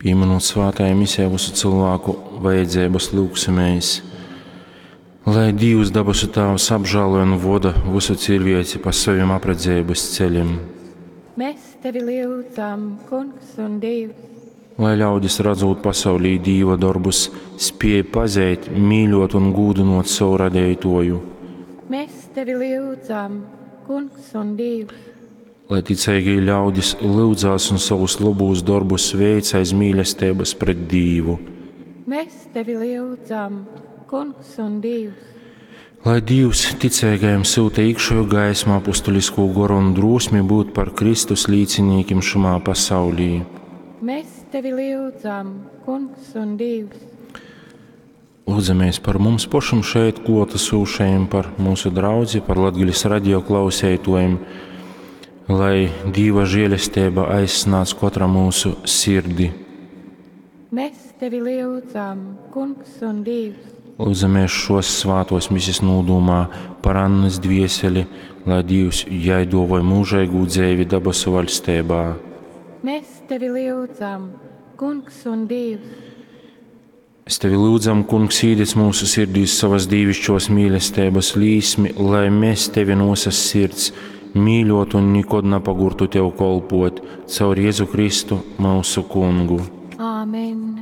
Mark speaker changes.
Speaker 1: Pīminūt svātajā misē vysu cylvāku vajadzeibas lyugsimēs, lai Dīvs dabasu Tāvs apžāloj un voda vysu ciļvieci pa sovim apredzeibys celim.
Speaker 2: Mēs tevi lyudzam, Kungs un Dīvs.
Speaker 1: Lai ļaudis, radzūt pasaulī Dīva dorbus, spiej pazeit, mīļuot un gūdynuot sovu Radeituoju.
Speaker 2: Mēs tevi lyudzam, Kungs un Dīvs.
Speaker 1: Lai ticeigī ļaudis lyudzās un sovus lobūs dorbus veic aiz mīlesteibys pret Dīvu.
Speaker 2: Mēs tevi lyudzam, Kungs un Dīvs.
Speaker 1: Lai Dīvs ticeigajim syuta īkšeju gaismu, apustuliskū goru un drūsmi byut par Kristus līcinīkim šymā pasaulī.
Speaker 2: Mēs tevi lyudzam, Kungs un Dīvs.
Speaker 1: Lūdzamies par mums pašim šeit kluotasūšajim, par mūsu draudzi, par Latgales radio klauseituojim, lai Dīva žielesteiba aizsnādz kotra mūsu sirdi.
Speaker 2: Mēs tevi lyudzam, Kungs un Dīvs.
Speaker 1: Lūdzamies šos svātos misis nūdūmā par Annys dvieseli, lai Dīvs jai duovoj mūžeigū dzeivi dabasu vaļsteibā.
Speaker 2: Mēs tevi lyudzam, Kungs un Dīvs.
Speaker 1: Es tevi lūdzam, Kungs, īdedz mūsu sirdīs savas dīvišķos mīlesteibas līsmi, lai mēs tevi no visas sirds mīļotu un nikod napagurtu tev kolpot caur Jēzu Kristu, mūsu Kungu.
Speaker 2: Āmen.